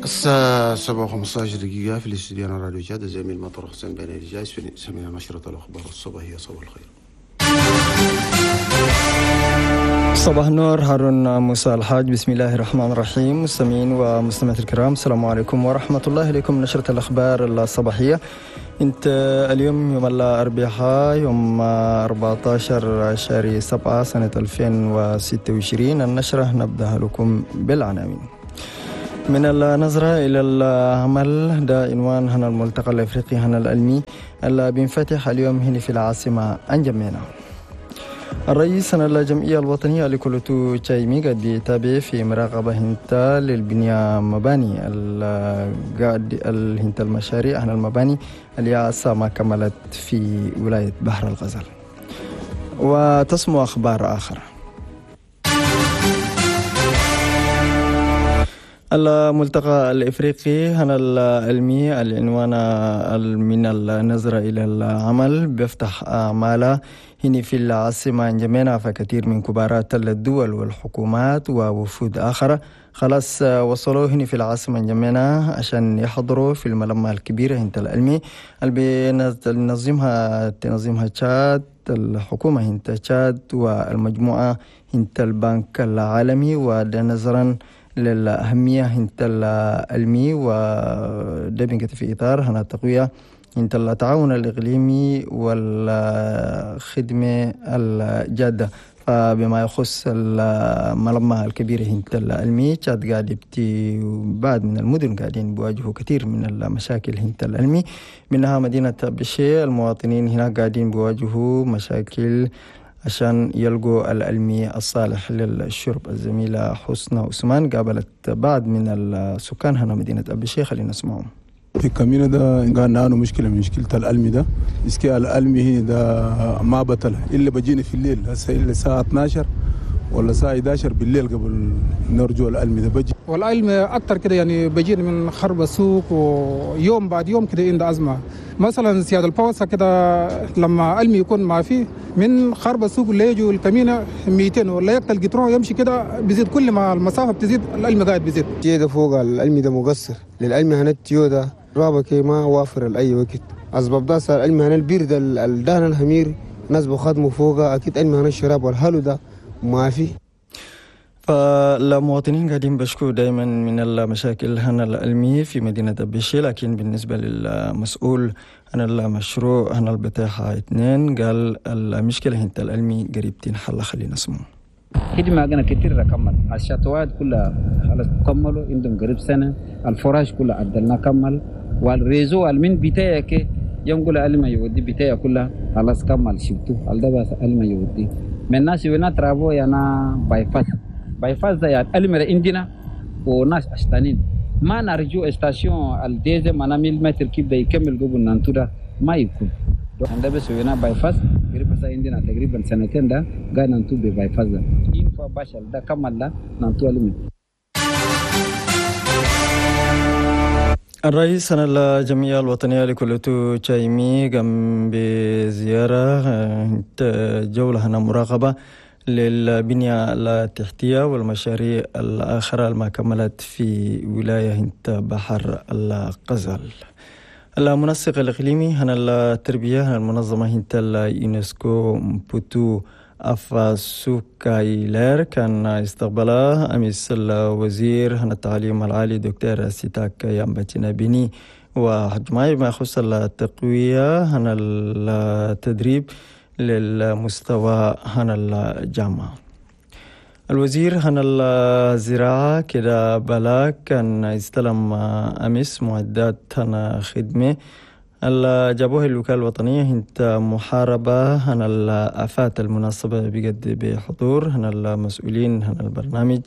الساعة 7:15 في الاستديو راديو جاد، الزميل مطر حسين بن الجايس في سمينا نشرة الأخبار الصباحية. صباح الخير. صباح النور هارون موسى الحاج. بسم الله الرحمن الرحيم. مستمعين ومستمعات الكرام، السلام عليكم ورحمة الله. إليكم نشرة الأخبار الصباحية. انت اليوم يوم الأربعاء يوم 14 شهر 7 سنة 2026. النشرة نبدأ لكم بالعناوين. من النظرة إلى العمل، ده عنوان هنا الملتقى الأفريقي هنا العلمي اللي بينفتح اليوم هنا في العاصمة أنجمينا. الرئيس الجمعية الوطنية لكولوتو تشايمي قد بيتابع في مراقبة هنتا للبنية مباني الهنتا المشاريع هنا المباني اللي عسى ما كملت في ولاية بحر الغزال. وتسمو أخبار آخر. الملتقى الإفريقي هنا العلمي العنوان من النظرة إلى العمل بيفتح أعماله هنا في العاصمة انجمينا، فكثير من كبارات الدول والحكومات ووفود آخر خلاص وصلوا هنا في العاصمة انجمينا عشان يحضروا في الملمة الكبيرة هنت العلمي اللي تنظمها تشاد، الحكومة هنت تشاد والمجموعة هنت البنك العالمي، وده نظرا للأهمية هنت العلمي وده بنكت في إطار هنا التقوية هنت التعاون الإقليمي والخدمة الجادة. فبما يخص الملمة الكبيرة هنت العلمي، تشاد قاعد يبتي بعد من المدن قاعدين بيواجهوا كثير من المشاكل هنت العلمي، منها مدينة بشي. المواطنين هناك قاعدين بيواجهوا مشاكل عشان يلقوا العلمي الصالح للشرب. الزميلة حسنى عثمان قابلت بعض من السكان هنا مدينة أبي شيخ، خلينا نسمعهم. في كمينة ده قال نانو مشكلة من مشكلة العلمي ده، إسكي العلمي ده ما بطل إلا بجيني في الليل، هسه إلا الساعة 12 ولا الساعة 11 بالليل قبل نرجو العلمي ده بجي. والعلم أكتر كده يعني بجيني من خرب السوق، ويوم بعد يوم كده عند أزمة. مثلا سيادة البوسة كده لما علمي يكون ما فيه من خرب السوق اللي يجوا الكمينة 200 ولا يقتل قطرون يمشي كده بيزيد، كل ما المسافة بتزيد العلم قاعد بيزيد. تيودا فوق العلمي ده مقصر، للعلم هنا التيودا رابك ما وافر لأي وقت. أسباب ده صار العلم هنا البير ده الدهن الحمير ناس بخدموا فوقه، أكيد علم هنا الشراب والهلو ده ما في. فالمواطنين قاعدين بشكوا دائما من المشاكل هنا العلمية في مدينة أبيشي، لكن بالنسبة للمسؤول عن المشروع هنا البتاحة 2 قال المشكلة هنا العلمي قريب تنحل. خلينا نسمعه. خدمة عندنا كتير كمل الشطوات كلها خلاص كملوا عندهم قريب سنة، الفراش كلها عدلنا كمل، والريزو المن بتاعك يوم علم يودي بتاعي كلها خلاص كمل شفتو الدبا علم يودي من الناس ونا ترابو يانا بايفاس بايفاس ده يعني علم عندنا وناس أشتانين ما نرجو station الديزل ما نميل متر كيف ده يكمل قبل نانتودا ما يكون عندنا بس ونا bypass قريب بس عندنا تقريبا سنتين ده قاعد نانتو ب bypass ده إن فا باشل ده كمل ده نانتو علم. الرئيس الجمعية الوطنية لكولوتو تشايمي قام بزيارة جولة هنا مراقبة للبنية التحتية والمشاريع الآخرة الما كملت في ولاية هنت بحر الغزال. المنسق الإقليمي هنا التربية هنا المنظمة هنت اليونسكو بوتو أفاسوكايلر كان استقبله أمس الوزير هنا التعليم العالي دكتور سيتاك يامباتينا بيني وحجماي بما يخص التقوية هنا التدريب للمستوى هنا الجامعة. الوزير هنا الزراعة كده بلا كان استلم أمس معدات هنا خدمة اللي جابوه الوكالة الوطنية هنت محاربة هنا الآفات المناسبة بجد بحضور هنا المسؤولين هنا البرنامج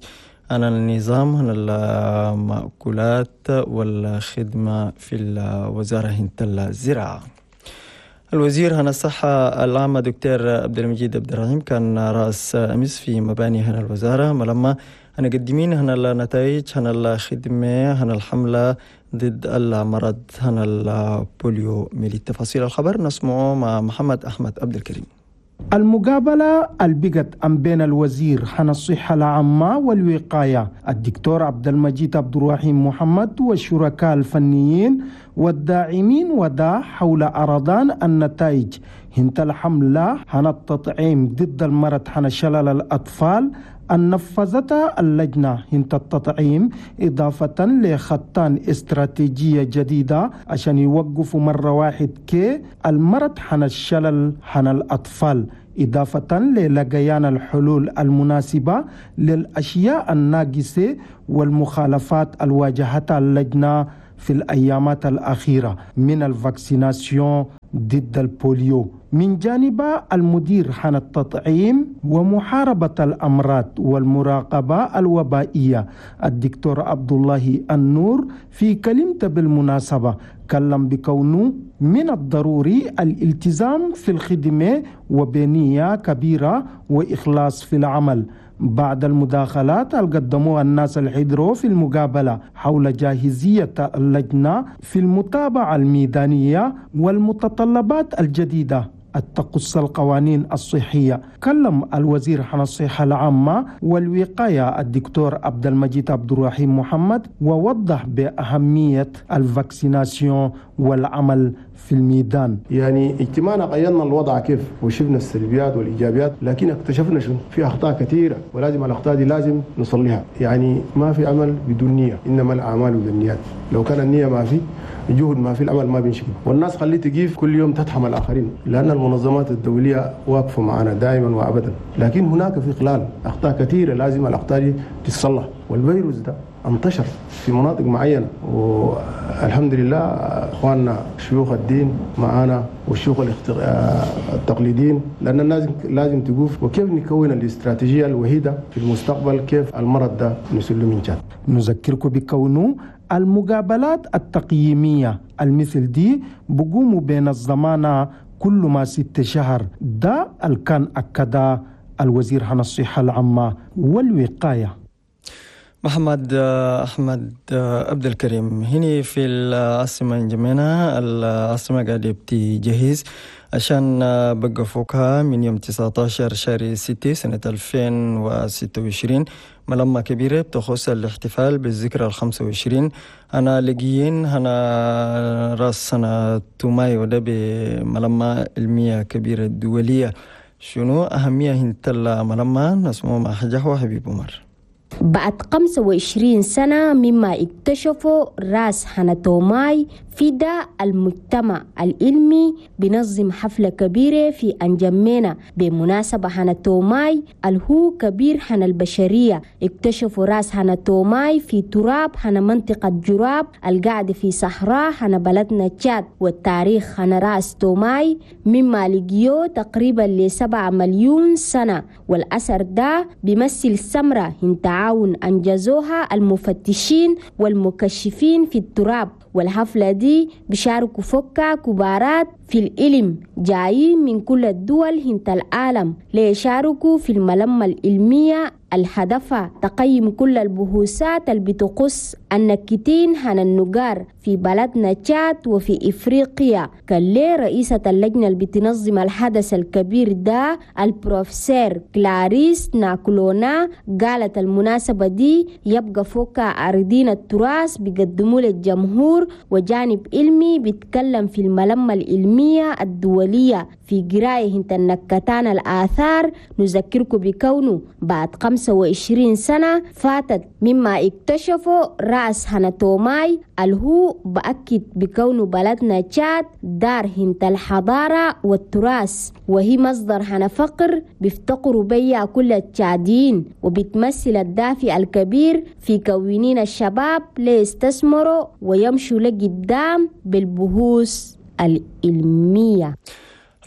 هنا النظام هنا المأكولات والخدمة في الوزارة هنت الزراعة. الوزير هنا الصحة العامة دكتور عبد المجيد عبد الرحيم كان رأس أمس في مباني هنا الوزارة ملما هنا قدمين هنا النتائج هنا الخدمة هنا الحملة ضد المرض هنا البوليو ميليت. تفاصيل الخبر نسمعه مع محمد أحمد عبد الكريم. المقابلة البقت أم بين الوزير حن الصحة العامة والوقاية الدكتور عبد المجيد عبد الرحيم محمد والشركاء الفنيين والداعمين ودا حول أرضان النتائج هنت الحملة حن التطعيم ضد المرض حن شلل الأطفال أن نفذتها اللجنة هنت التطعيم، إضافة لخطان استراتيجية جديدة عشان يوقفوا مرة واحد كي المرض حن الشلل حن الأطفال، إضافة للقيان الحلول المناسبة للأشياء الناقصة والمخالفات الواجهتها اللجنة في الأيامات الأخيرة من ال vaccination ضد ال polio. من جانب المدير حن التطعيم ومحاربة الأمراض والمراقبة الوبائية الدكتور عبد الله النور في كلمته بالمناسبة كلم بكونه من الضروري الالتزام في الخدمة وبنية كبيرة وإخلاص في العمل. بعد المداخلات اللي قدموها الناس الحضروا في المقابلة حول جاهزية اللجنة في المتابعة الميدانية والمتطلبات الجديدة التقص القوانين الصحية، كلم الوزير عن الصحة العامة والوقاية الدكتور عبد المجيد عبد الرحيم محمد ووضح بأهمية ال vaccination والعمل في الميدان. يعني اجتماعنا غيرنا الوضع كيف وشفنا السلبيات والإيجابيات، لكن اكتشفنا شنو في أخطاء كثيرة ولازم الأخطاء دي لازم نصليها. يعني ما في عمل بدون نية، إنما الأعمال بالنيات. لو كان النية ما في، الجهد ما في، العمل ما بينشكل. والناس خليه تجيف كل يوم تتهم الآخرين، لأن المنظمات الدولية واقفة معنا دائما وأبدا، لكن هناك في خلال أخطاء كثيرة لازم الأخطاء دي تتصلح. والفيروس ده انتشر في مناطق معينة، والحمد لله اخواننا شيوخ الدين معانا والشيوخ التقليديين، لأن الناس لازم تقوف وكيف نكون الاستراتيجية الوحيدة في المستقبل كيف المرض ده نسلم من جد. نذكركم بكونه المقابلات التقييمية المثل دي بقوموا بين الزمانة كل ما 6 شهر، ده الكان أكد الوزير عن الصحة العامة والوقاية. محمد أحمد عبد الكريم. هنا في العاصمة انجمينا، العاصمة قاعدة بتجهز عشان بقى فوقها من يوم 19 شهر 6 سنة 2026 ملمة كبيرة بتخص الاحتفال بالذكرى 25. أنا لقيين أنا راس سنة توماي وده بملمة علمية كبيرة دولية. شنو أهمية هنتلا ملمة نسمو مع حجة حبيب عمر. بعد 25 سنة مما اكتشفوا راس هاناتوماي في دا المجتمع العلمي بنظم حفلة كبيرة في أنجمينا بمناسبة هاناتوماي الهو كبير هنا البشرية. اكتشفوا راس هاناتوماي في تراب هنا منطقة جراب القاعدة في صحراء هنا بلدنا تشاد، والتاريخ هنا راس توماي مما لقيو تقريبا ل7 مليون سنة، والأثر ده بيمثل سمرة هن تعاون أنجزوها المفتشين والمكشفين في التراب. والحفلة دي بيشاركوا فكا كبارات في العلم جايين من كل الدول هنت العالم ليشاركوا في الملمة العلمية الهدفة تقيم كل البحوثات اللي بتقص النكتين هن النجار في بلدنا تشاد وفي إفريقيا. كان لي رئيسة اللجنة اللي بتنظم الحدث الكبير ده البروفيسور كلاريس ناكلونا قالت المناسبة دي يبقى فوق عارضين التراث بيقدموا للجمهور وجانب علمي بيتكلم في الملمة العلمية الدولية في قراية هنت النكتان الآثار. نذكركم بكونه بعد 25 سنة فاتت مما اكتشفوا رأس هاناتوماي الهو بأكد بكونه بلدنا تشاد دار هنت الحضارة والتراث، وهي مصدر هنا فقر بيفتقروا بيها كل التشاديين، وبتمثل الدافع الكبير في كونين الشباب ليستثمروا ويمشوا لقدام بالبحوث العلمية.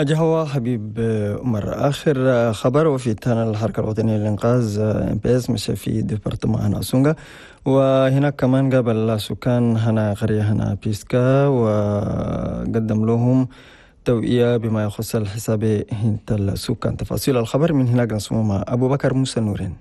أجهوة حبيب عمر. آخر خبر وفي تانا الحركة الوطنية للإنقاذ MPS مشى في département هنا سونغا، وهناك كمان قابل سكان هنا قرية هنا بيسكا وقدم لهم توعية بما يخص الحساب هنت السكان. تفاصيل الخبر من هناك نسمع مع أبو بكر موسى نورين.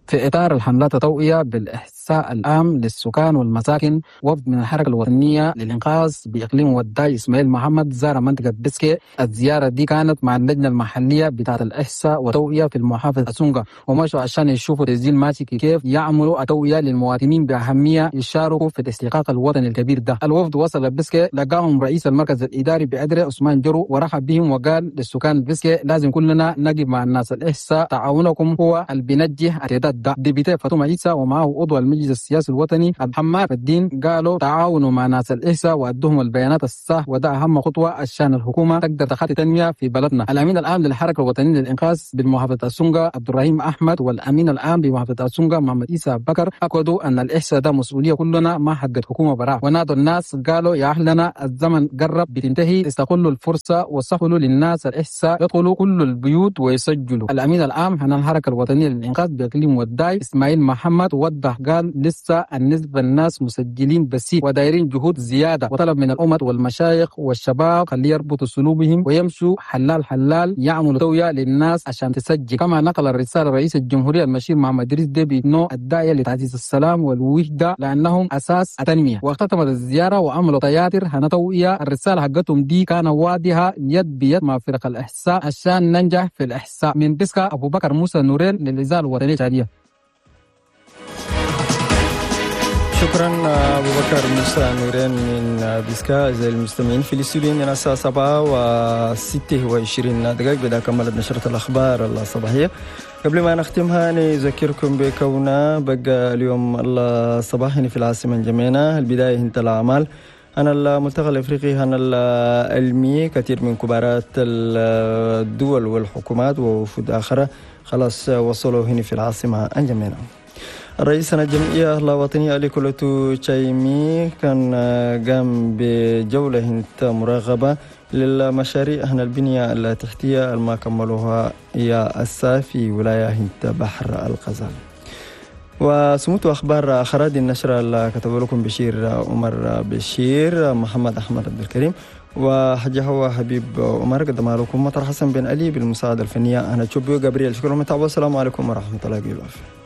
في إطار الحملات التوعية بالإحسان الإحصاء العام للسكان والمساكن. وفد من الحركة الوطنية للإنقاذ بإقليم وداي إسماعيل محمد زار منطقة بسكي. الزيارة دي كانت مع اللجنة المحلية بتاعة الإحصاء والتوعية في المحافظة أسونغا، ومشوا عشان يشوفوا تسجيل ماشي كيف، يعملوا التوعية للمواطنين بأهمية يشاركوا في الاستحقاق الوطني الكبير ده. الوفد وصل بسكي لقاهم رئيس المركز الإداري بأدري عثمان جرو ورحب بهم وقال للسكان بسكي لازم كلنا نقف مع الناس الإحصاء، تعاونكم هو اللي بينجح التعداد ده. député فاطمة عيسى ومعه عضو المجلس السياسي الوطني محمد الدين قالوا تعاونوا مع ناس الإحصاء وأدوهم البيانات الصح، وده أهم خطوة عشان الحكومة تقدر تخطي تنمية في بلدنا. الأمين العام للحركة الوطنية للإنقاذ بالمحافظة السونغا عبد الرحيم أحمد والأمين العام بمحافظة السونغا محمد عيسى بكر أكدوا أن الإحصاء ده مسؤولية كلنا ما حقت حكومة براء، ونادوا الناس قالوا يا أهلنا الزمن قرب بتنتهي، استغلوا الفرصة وسهلوا للناس الإحصاء، يدخلوا كل البيوت ويسجلوا. الأمين العام عن الحركة الوطنية للإنقاذ بإقليم وداي إسماعيل محمد وضح قال لسه النسبة الناس مسجلين بسيط ودايرين جهود زيادة، وطلب من الأمة والمشايخ والشباب خلي يربطوا سلوبهم ويمشوا حلال حلال يعملوا توعية للناس عشان تسجل. كما نقل الرسالة رئيس الجمهورية المشير محمد إدريس ديبي إنه الداعية لتعزيز السلام والوحدة لأنهم أساس التنمية. واختتمت الزيارة وعملوا تياتر هنتوعية. الرسالة حقتهم دي كان واضحة يد بيد مع فرق الإحصاء عشان ننجح في الإحصاء. من بسكا أبو بكر موسى نورين للإذاعة الوطنية التشادية. شكرا أبو بكر موسى نورين من بيسكا. أعزائي المستمعين في الاستوديو عندنا الساعة 7:26 بدأ كملت نشرة الأخبار الصباحية. قبل ما نختمها نذكركم بكوننا بقى اليوم الصباح في العاصمة جمينة البداية انت الأعمال أنا الملتقى الإفريقي أنا العلمي، كثير من كبارات الدول والحكومات ووفود آخرى خلاص وصلوا هنا في العاصمة أنجمينة. الرئيس الجمعية الوطنية لكولوتو تشايمي كان قام بجولة مراقبة للمشاريع هنا البنية التحتية الما كملوها يا أسا في ولاية بحر الغزال. وسموت أخبار أخرى دي النشرة اللي كتب لكم بشير عمر بشير، محمد أحمد عبد الكريم، وحجة هو حبيب عمر. قدم لكم مطر حسن بن علي بالمساعدة الفنية أنا تشوبيو جابرييل. شكرا لكم، والسلام عليكم ورحمة الله وبركاته.